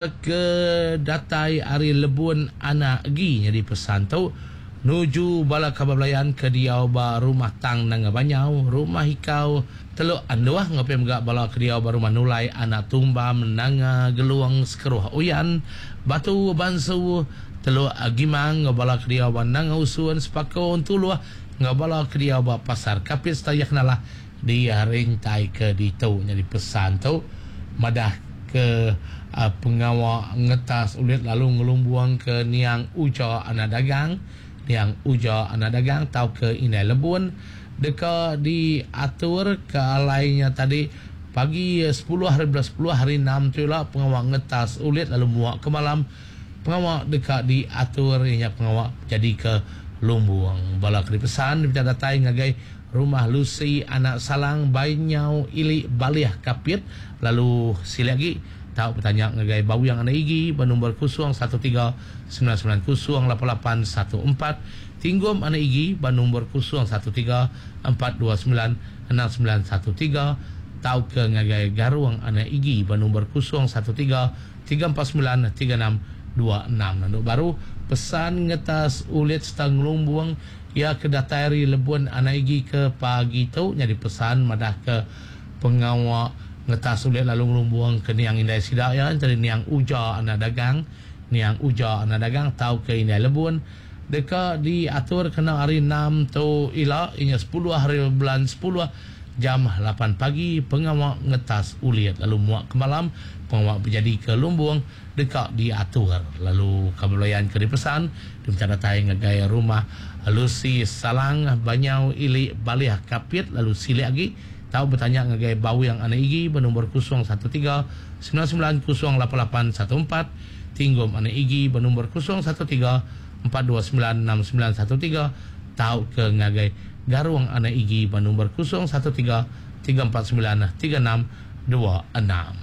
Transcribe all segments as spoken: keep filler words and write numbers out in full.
Ke datai ari Lebun Anak Egi nyadi pesan tu nuju bala kaban belayan ke diau ba Rumah Tang Nanga Banyau, Rumah Ikau Teluk Anduh enggau pia mega bala ke diau ba Rumah Nulai Anak Tumbam Nanga Gelung Sekeruh Uyan Batu Bansu Teluk Gimang enggau bala ke diau ba Nanga Usun Sepako Entuluh enggau bala ke diau ba Pasar Kapit sereta iya kenalah di rintai ke ditu nyadi pesan tu madah ke pengawa ngetas ulit lalu ngelumbung ke niang Uja Anak Dagang, niang Uja Anak Dagang tauka Indai Lebun deka diatur ke alai nya tadi pagi sepuluh hari bulan sepuluh hari enam tu ila pengawa ngetas ulit lalu muak ke malam pengawa deka diatur nya pengawa jadi ke lumbung. Bala ke dipesan dipinta datai ngagai Rumah Lucy Anak Salang Banyau Ili Balih Kapit lalu silik agi tau bertanya ngagai Bawing Anak Igi bernombor kosong satu tiga sembilan sembilan kosong lapan lapan satu empat, Tinggum Anak Igi bernombor kosong satu tiga empat dua sembilan enam sembilan satu tiga, tau ke ngagai Garung Anak Igi bernombor kosong satu tiga tiga empat sembilan tiga enam dua enam. Lalu baru pesan ngetas ulit serta ngelumbung ia ke datai ari Lebun Anak Igi ke pagi tu jadi pesan madah ke pengawa ngetas ulit lalu ngelumbung ke niang indai sida ya tadi niang Uja Anak Dagang, niang Uja Anak Dagang tau ke Indai Lebun deka diatur kena hari enam tu ila inya sepuluh hari bulan sepuluh jam lapan pagi pengawa ngetas ulit lalu muak ke malam pengawa berjadi ke lumbung deka diatur lalu kabelayan ke dipesan diminta datai ngagai Rumah Lucy Salang Banyau Ili Balih Kapit lalu silik agi tau bertanya ngagai Bawing Anak Igi bernombor kosong satu tiga sembilan sembilan kosong lapan lapan satu empat, Tinggum Anak Igi bernombor kosong satu tiga empat dua sembilan enam sembilan satu tiga, tau ke ngagai Garung Anak Igi bernombor kosong satu tiga tiga empat sembilan tiga enam dua enam.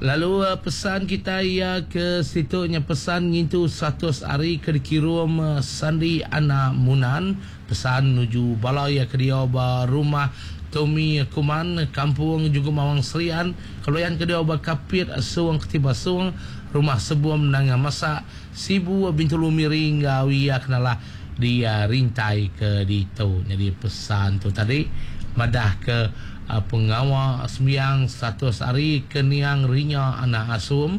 Lalu pesan kita ia ke situnya pesan ngintu seratus hari ke dikirum Sandi Anak Munan, pesan menuju bala ia ke dia ba Rumah Tommy Kuman Kampung Juga Mawang Serian, keloyan ke dia ba Kapit Suang Ketiba Suang, Rumah Sebum Nanga Masak Sibu Bintulu Miri ngau ia kenalah dia rintai ke ditu. Jadi pesan tu tadi madah ke uh, pengawa sembiang seratus hari ke niang Rinya Anak Asum,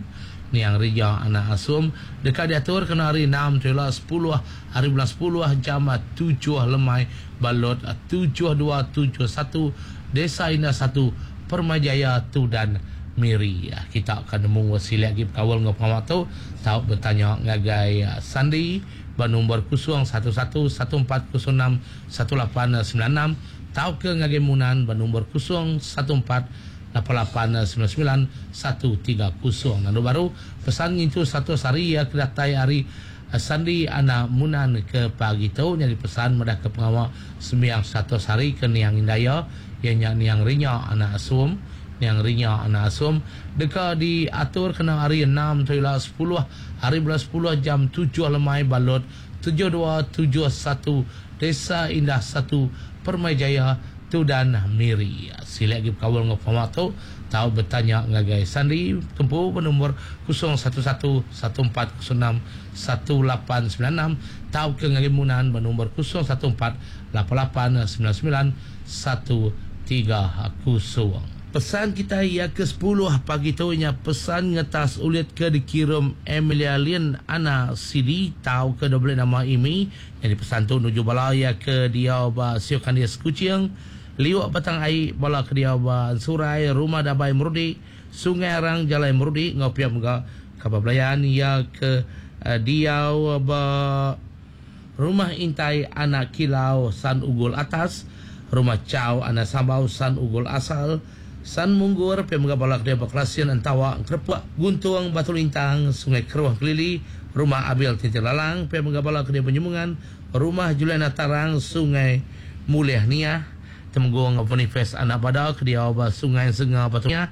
niang Rinya Anak Asum dekat diatur kena hari enam tu sepuluh hari bulan sepuluh jam tujuh lemai balot tujuh dua tujuh satu Desa Indah satu Permajaya Tudan Miri. Kita akan nemu silik lagi berkawal dengan pengawa tu tau bertanya ngagai Sandi bernombor kosong satu satu satu empat kosong enam satu lapan sembilan enam, tau ke ngagai Munan bernombor kosong satu empat lapan lapan sembilan sembilan satu tiga kosong. Lalu baru pesan itu satu hari ya kedatai hari Sandi Anak Munan ke pagi tu jadi pesan madah ke pengawa sembiang satu hari ke niang Indaya ianya niang Rinya Anak Asum, niang Rinya Anak Asum deka diatur kena hari enam tu ila sepuluh hari bulan sepuluh jam tujuh lemai balot tujuh dua tujuh satu Desa Indah satu Permajaya Tudan Miri. Silik lagi berkawal dengan pengawa tu tau bertanya ngagai Sandi tempu bernombor kosong satu satu satu empat kosong enam satu lapan sembilan enam, tau ke ngagai Munan bernombor kosong satu empat lapan lapan sembilan sembilan satu tiga kosong. Pesan kita ia ke sepuluh pagi tu nya pesan ngetas ulit ke dikirim Emilia Lin Ana Sidi tau ke double nama Imi. Jadi pesan tu nuju bala ia ke dia ba Siok Kandis Kuching, Liuk Batang Ai, bala ke dia ba Surai, Rumah Dabai Merudi, Sungai Arang Jalai Merudi ngau pia mega kabar belayan ia ke uh, dia ba Rumah Intai Anak Kilau San Ugul Atas, Rumah Chow Anak Sambau San Ugul Asal, San Munggur, pia mega bala ke dia ba Kelasian Entawa Kerepuk Guntung Batu Lintang Sungai Keruh Kelili, Rumah Abil Tintin Lalang, pia mega bala ke dia Penyemungan, Rumah Juliana Tarang Sungai Mulih Niah, Temenggung Boniface Anak Bada ke dia ba Sungai Senga Batu Niah,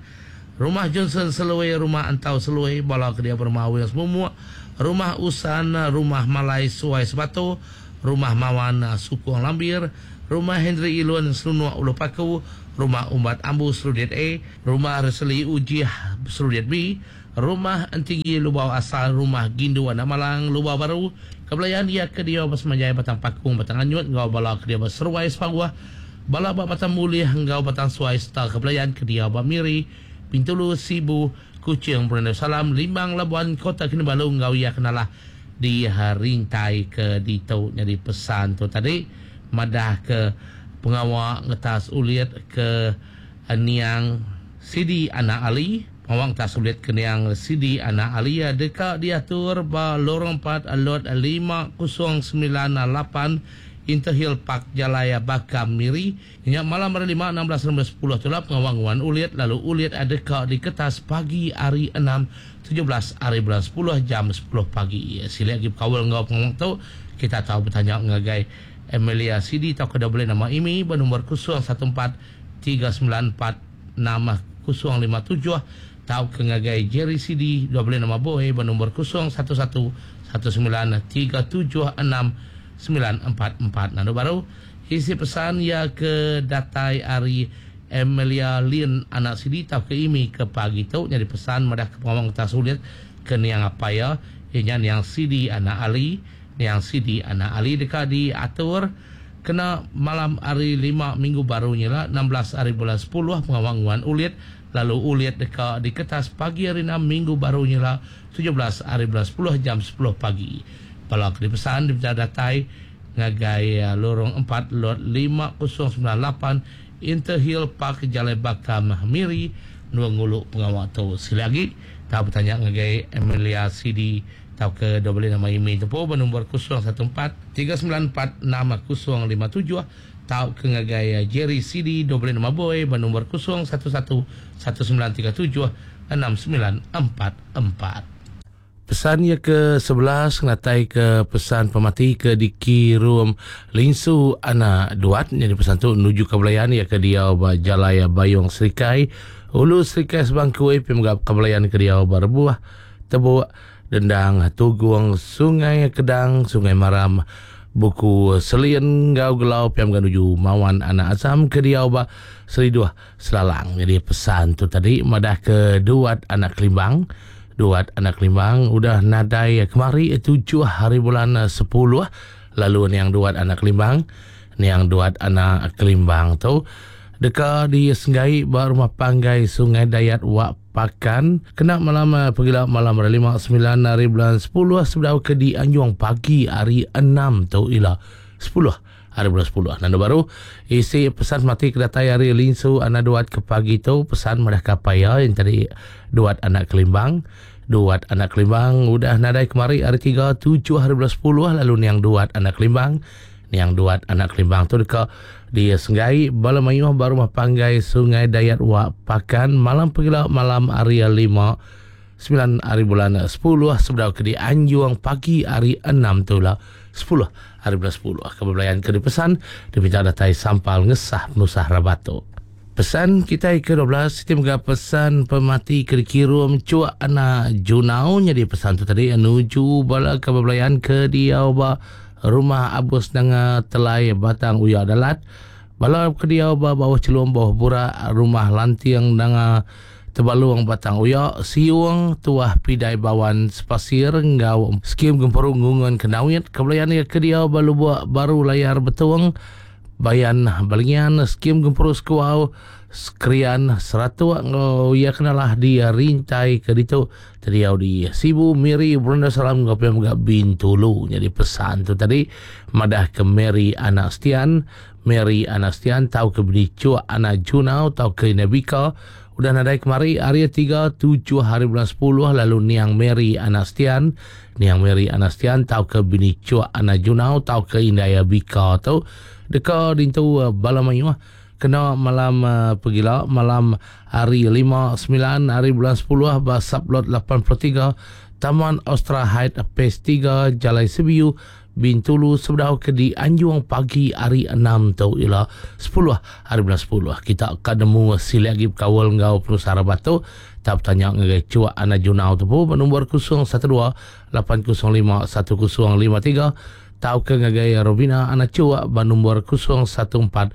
Rumah Johnson Selui, Rumah Antau Selui, bala ke dia Rumah Wills Mumuk, Rumah Usan, Rumah Malai Suai Sebatu, Rumah Mawan Sukung Lambir, Rumah Henry Ilun Selunuk Ulu Paku, Rumah Umbat Ambu Serudit A, Rumah Reseli Ujih Serudit B, Rumah Entinggi Lubau Asal, Rumah Gindu Anak Malang Lubau Baru, Kebelayan iya ke diau ba Semanjai Batang Pakung Batang Anyut enggau bala ke diau ba Seruai Sepauh, bala ba Batang Mulih enggau Batang Suai sereta Kebelayan ke diau ba Miri, Bintulu, Sibu, Kuching, Brunei Darussalam, Limbang, Labuan, Kota Kinabalu enggau iya ke nalah di rintai ke ditu. Nyadi pesan tu tadi madah ke pengawa ngetas ulit ke niang Sidi Anak Ali. Pengawa ngetas ulit ke niang Sidi Anak Ali deka diatur ba Lorong empat Lot lima kosong sembilan lapan Interhill Park Jalai Bakam Miri. Nya malam hari lima enam belas enam belas sepuluh tu lah pengawa nguan ulit, lalu ulit deka diketas pagi hari enam tujuh belas hari bulan sepuluh jam sepuluh pagi. Sila lagi berkawal enggau pengawa tu, kita tahu bertanya ngagai Emilia Sidi atau ke boleh nama Imi bernombor kosong satu empat tiga sembilan empat enam kosong lima tujuh atau ke ngagai Jerry Sidi dua boleh nama Boy bernombor kosong satu satu satu sembilan tiga tujuh enam sembilan empat empat. Lalu baru isi pesan ya ke datai ari Emilia Lin anak Sidi atau ke Imi ke pagi tu. Jadi pesan madah ke pengawang kita sulit ke niang apa ya ianya niang Sidi anak Ali. Niang Sidi anak Ali dekat diatur kena malam hari lima minggu baru nyela enam belas hari bulan sepuluh pengawang nguan ulit, lalu ulit dekat diketas pagi hari enam minggu baru nyela tujuh belas hari bulan sepuluh jam sepuluh pagi. Bala ke dipesan diminta datai ngagai lorong empat lot lima kosong sembilan lapan Interhill Park Jalai Bakam Miri nuang ngulu pengawak tu. Sekali lagi tahu bertanya ngagai Emilia Sidi tau ke dua boleh nama Imi tu pun bernombor kosong satu empat tiga sembilan empat enam kosong lima tujuh tau ke ngagai Jerry Sidi dua boleh nama Boy bernombor kosong satu satu satu sembilan tiga tujuh enam sembilan empat empat. Pesan ia ke sebelas ngatai ke pesan pemati ke dikirum Lingsu Anak Duat. Jadi pesan tu menuju ke Belayan ia ke dia ba Jalai Bayong Serikai Ulu Serikai Sebangkui pemgap ke Belayan ke dia ba Rebuah Tebuk Dendang Tugung Sungai Kedang Sungai Maram Buku Selin Gau Gelau piam menuju Mawan Anak Azam ke dia ba Seriduh Selalang. Jadi pesan tu tadi madah ke Duat Anak Kelimbang. Duat Anak Kelimbang udah nadai kemari tujuh hari bulan sepuluh. Lalu niang Duat Anak Kelimbang, niang Duat Anak Kelimbang tu deka di Senggai ba rumah panggai Sungai Dayat Wak Pakan kena malam pegila malam hari lima sembilan hari bulan sepuluh sebedau ke di Anjung pagi hari enam tu ila sepuluh hari bulan sepuluh. Nanda baru isi pesan mati ke datai hari Lingsu Anak Duat ke pagi tu pesan madah kapaya yang tadi Duat Anak Kelimbang. Duat Anak Kelimbang udah nadai kemari hari tiga tujuh hari bulan sepuluh. Lalu niang Duat Anak Kelimbang, niang Duat Anak Kelimbang tu deka di Senggai bala mayuh baru rumah panggai Sungai Dayat Wak Pakan malam pegila malam hari lima sembilan hari bulan sepuluh sebedau ke di Anjung pagi hari enam tu lah sepuluh hari bulan sepuluh. Kebelayan ke dipesan diminta datai sampal ngesah penusah rabatu. Pesan kita ke dua belas siti mega pesan pemati ke dikirum Cuak Anak Junau. Jadi pesan tu tadi menuju bala kebelayan ke diau ba rumah Abus Nanga Telai Batang Uya Dalat. Bala ke diau ba bawah Celum bawah Burak rumah Lantiang Nanga Tebaluang Batang Uya Siung Tuah Pidai Bawan Sepasir ngau skim Gemperung Ngungun Kenawit. Kebelayan ke diau ba Lubuk Baru Layar Betung Bayan Balingian skim Gemperung Sekuau Skrian Seratuk ngau ia kenalah di rintai ke ditu terdiau di Sibu Miri Brunei Darussalam ngau pia mega Bintulu. Jadi pesan tu tadi madah ke Mary Anak Stian, Mary Anak Stian tau ke beli Cuak Anak Junau tau ke Nabika udah nadai kemari hari tiga tujuh hari bulan sepuluh. Lalu niang Mary Anak Stian, niang Mary Anak Stian tau ke bini Cuak Anak Junau tau ke Indaya Bika tu deka dintu bala mayuh kena malam uh, pegila malam hari lima sembilan hari bulan sepuluh ba sublot lapan puluh tiga Taman Ostra Height Phase tiga Jalai Sebiu Bintulu sebedau ke di Anjung pagi hari enam tu ila sepuluh hari bulan sepuluh. Kita akan nemu sila lagi berkawal ngau penusara batu. Tak bertanya ngagai Cuak Anak Junau tu pun nombor kosong satu dua lapan kosong lima satu kosong lima tiga tau ke ngagai Robina Anak Cuak nombor kosong satu empat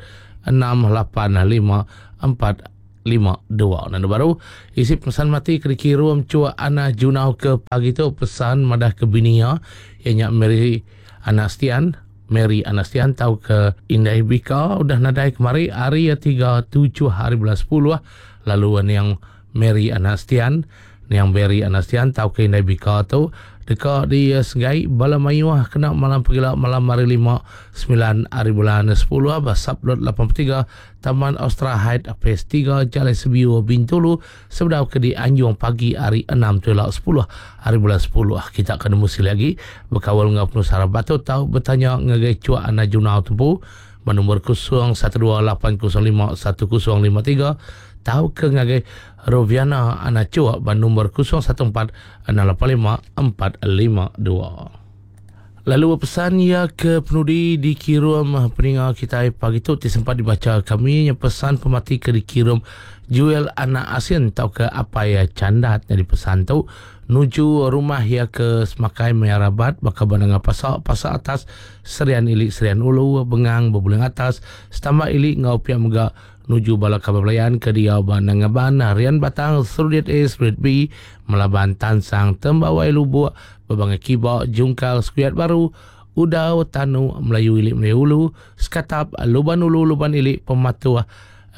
enam lapan lima empat lima dua. Nandu baru isi pesan mati ke dikirum cua Ana Junau ke pagi tu pesan madah ke binia ianya Mary Anastian Mary Anastian tau ke Indai Bika udah nadai kemari hari tiga tujuh hari bulan sepuluh lalu niang Mary Anastian niang Mary Anastian tau ke Indai Bika tu deka di segai bala mayuh kena malam pegila malam hari lima sembilan hari bulan sepuluh basap lot lapan puluh tiga Taman Ostra Height Phase tiga Jalai Sebiu Bintulu sebedau ke di Anjung pagi hari enam tulak sepuluh hari bulan sepuluh. Kita akan nemu sekali lagi berkawal dengan penusara batu tau bertanya ngagai cuak Ana Junau tumpu nombor kosong satu dua lapan kosong lima satu kosong lima tiga tau ke ngagai Roviana Ana Cuak ban nombor kosong satu empat enam lapan lima empat lima dua. Lalu pesan ia ke penudi dikirim peninga kita pagi tu ti sempat dibaca kami yang pesan pemati ke dikirim Juel Anak Asin tau ke apa ya candat jadi pesan tu nuju rumah ya ke Semakai Merabat bakal bananga pasak pasak atas Serian Ilik Serian Ulu Bengang Berbuling atas setambah Ilik ngau pia mega nuju bala kabar belayan ke dia bananga ban Rian Batang Serudit A Serudit B Melaban Tansang Tembawai Lubuk Berbangai Kibak Jungkal Skuiat Baru Udau Tanu Melayu Ilik Melayu Ulu Sekatap Luban Ulu Luban Ilik Pematuah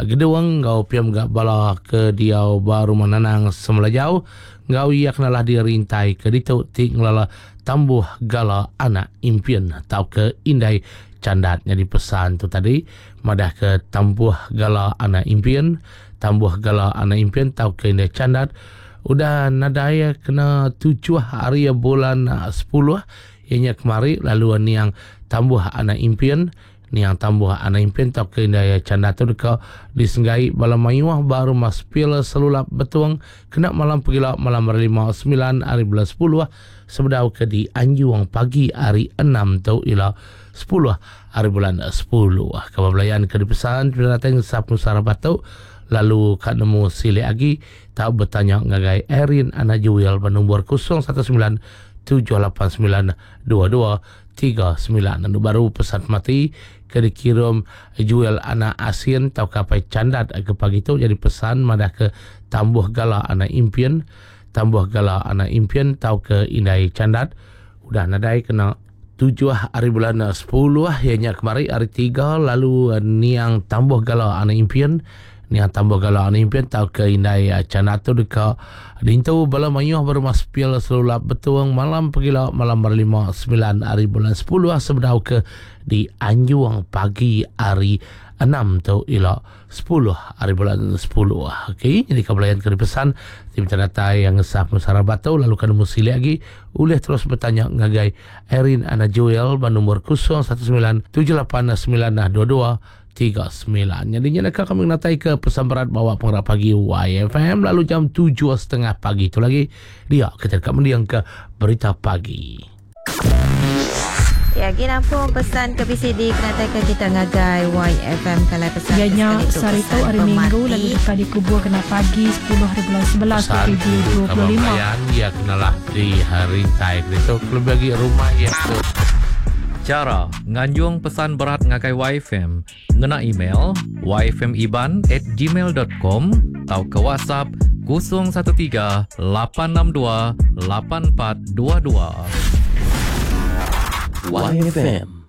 Gedung ngau piam gak bala ke dia baru menanang semula jauh ngau ia kenalah dirintai ke ditu ti ngelala tambuh gala anak impian tau ke indai candat jadi pesan tu tadi madah ke tambuh gala anak impian tambuh gala anak impian tau ke indai candat udah nadai kena tujuh hari bulan sepuluh ianya kemari lalu niang tambuh anak impian niang tambuh anak impian tau ke indai candat tu deka disenggai bala mayuh baru mas pil selulap betuang kena malam pegila malam hari lima sembilan hari bulan sepuluh sebedau ke di Anjuang pagi hari enam tu ila sepuluh hari bulan sepuluh. Kabar belayan ke dipesan datang Sabtu Sarabato lalu kat nemu silik lagi tak bertanya ngagai Erin Ana Juel bernombor kosong satu sembilan tujuh lapan sembilan dua dua tiga sembilan. Lalu baru pesan mati ke dikirim Juel Anak Asin tau kapai candat ke pagi tu jadi pesan madah ke tambuh gala anak impian tambuh gala anak impian tau ke indai candat udah nadai kena tujuh hari bulan sepuluh ianya kemari hari tiga lalu niang tambuh gala anak impian niang tambuh gala anak impian tau ke indai candat tu deka dintu bala mayuh berumah sepil selulap betuang malam pegila malam berlima sembilan hari bulan sepuluh sebedau ke di Anjuang pagi hari enam tu ila sepuluh hari bulan sepuluh. Okey, jadi kebelayan ke dipesan tim datai yang ngesah musara batu lalu kan musili lagi boleh terus bertanya ngagai Erin Ana Joel ban nombor kosong satu sembilan tujuh lapan sembilan dua dua tiga sembilan. Jadi nyata kami natai ke pesan berat bawa pengerak pagi Y F M lalu jam tujuh setengah pagi itu lagi dia kita dekat mendiang ke berita pagi. Ya, gina pun pesan ke B C D kena ke kita ngagai Y F M kalau pesan ya, sekali tu hari Minggu lalu dekat dikubur kena pagi sepuluh hari bulan sebelas dua ribu dua puluh lima. Ya kenalah di hari tai itu lebih bagi rumah ya tu. Cara nganjung pesan berat ngagai Y F M ngena email y f m iban at gmail dot com atau ke WhatsApp kosong satu tiga lapan enam dua lapan empat dua dua. Y F M.